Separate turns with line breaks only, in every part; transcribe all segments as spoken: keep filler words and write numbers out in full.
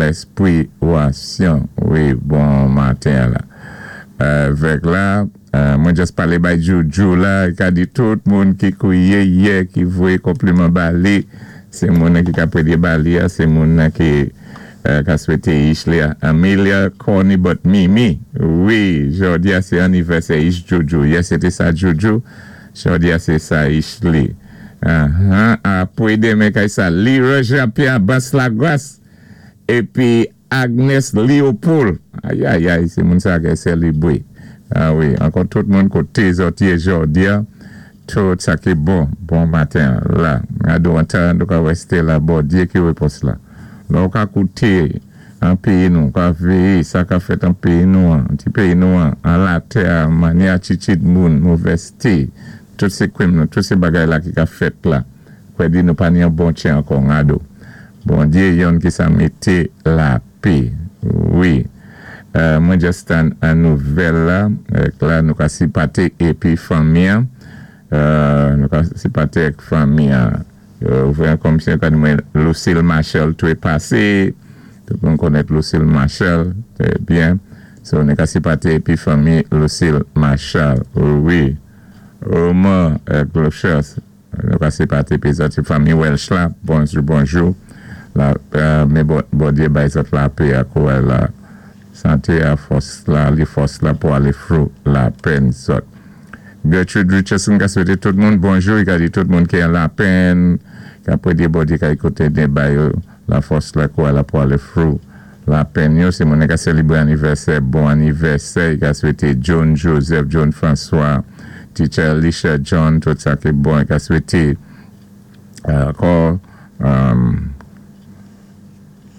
Lespwiwasyon. Wi, bon maten la. Vèk la, mwen just palé bay Joujou la, i ka di tout moun ki kouwiyé yè, ki voyé konpliman ba li, sé moun ki ka pwédyé ba li a, sé moun ki ka swété ich li a. Amelia Corny but Mimi, wi, jòdi a sé anivèsè ich Joujou. Yè sé té sa Joujou, jòdi a sé sa ich li. Apwé démen kay sa, Lira Jean-Pierre Bas Lagras, épi Agnes Leopold. Ayayay, sé moun sa ki sélibwé. A wi, ankò tout moun koté zòt yé jòdi a, tout sa ki bon, bon maten la. Ado an nou ka wèsté la, Bondyé ki wépons la. La ou ka kouté an péyi nou, ka véyé sa ka fèt an péyi nou an, ti péyi nou an, an latè, mannyè atitid moun, movèzté, tout sé kwim nou, tout sé bagay la ki ka fèt la. Kwè di nou pa ni an bon tjen ankò ngado. Bondyé yonn ki sa mété lapè. Wi. Mwen just an nouvèl la, la nou ka sipaté épi fanmi an, nou ka sipaté ek fanmi an. Ouvè an komisyon kan mwen Lucille Marshall toué pasé, tout moun konnèt Lucille Marshall, trè byen. So nou ka sipaté épi fanmi Lucille Marshall. Wi. Omar Clochers, nou ka sipaté épi zòt fanmi Welsh la, bonjou, bonjou. La, mé Bondyé bay zòt lapè a kouwè la santé a fòs la, li fòs la pou alé through lapèn zòt. Gertrude Richardson ka swété tout moun bonjou, i ka di tout moun ki an lapèn, ka pwédyé Bondyé ka ékouté den bay yo la fòs la kouwè la pou alé through lapèn yo. Sé moun ka sélibwé anivèsè, bon anivèsè, i ka swété John Joseph, John François, Teacher Alicia John, tout sa ki bon, i ka swété ankò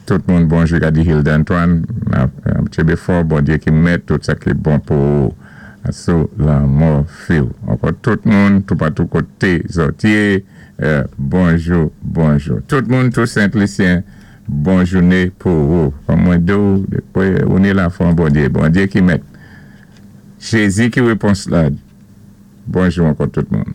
tout moun bonjou, ka di Hilda Antoine, tjenbé fò, Bondyé ki mèt, tout sa ki bon pou sou lanmò fi ou. Ankò tout moun, toupatou koté zòt yé, bonjou, bonjou. Tout moun, tout Sent-Lisyen, bon jouné pou ou. Kòm mwen di ou, ou ni lafwa an Bondyé, Bondyé ki mèt. Jézi ki wépons la. Bonjou ankò tout moun.